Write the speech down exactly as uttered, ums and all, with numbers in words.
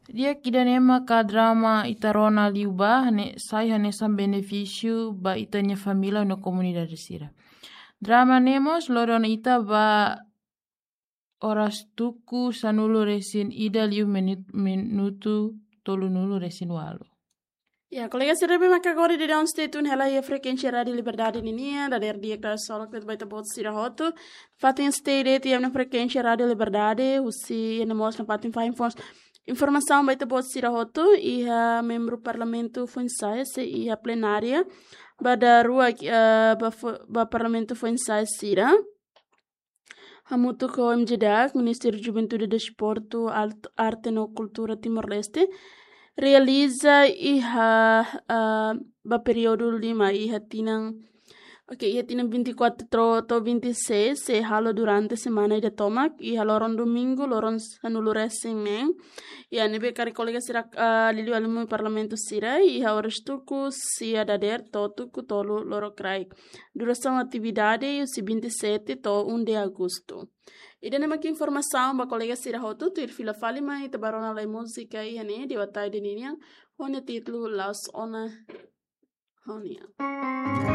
Di'ak, ida-ne'e maka drama ita rona liubá, ne'e sai hanesan benefísiu ba ita-nia família no komunidade sira. Drama ne'e mós lori ona ita ba oras tuku sanulu resin ida liu minu-, minutu tolunulu resin ualu. Ya, kolega sira, ne'ebé maka agora daudaun stay tune hela iha frekuénsia Rádiu Liberdade ninian, dadeer di'ak, dadeer solok ba ita-boot sira hotu. Fatin stay date iha ona frekuénsia Rádiu Liberdade, husi iha ona mós nafatin fahe infos-, informasaun ba ita-boot sira hotu, iha membru Parlamentu foin-sa'e sei iha plenária ba daruak, eh, ba fo-, ba Parlamentu foin-sa'e sira. Hamutuk ho M J D A C, Ministériu Juventude, Desportu, Alt-, Arte no Kultura Timor-Leste, realiza iha, ah, ba períodu lima, iha tinan, oke, iha tinan vinte e quatro to'o vinte e seis, sei halo durante semana ida tomak, iha loron domingu, loron sanulu resin neen. Ya, ne'ebé karik kolega sira, ah, liuliu alin Parlamentu sira, iha oras tuku sia dadeer to'o tuku tolu lorokraik. Durasaun atividade husi vinte e sete to'o um de agosto. Ida-ne'e mak informasaun ba kolega sira hotu, tuir fila fali mai ita bá rona lai múzika iha ne'e, Dewa Taide ninian, ho nia títulu La'ós Ona Ho Nia.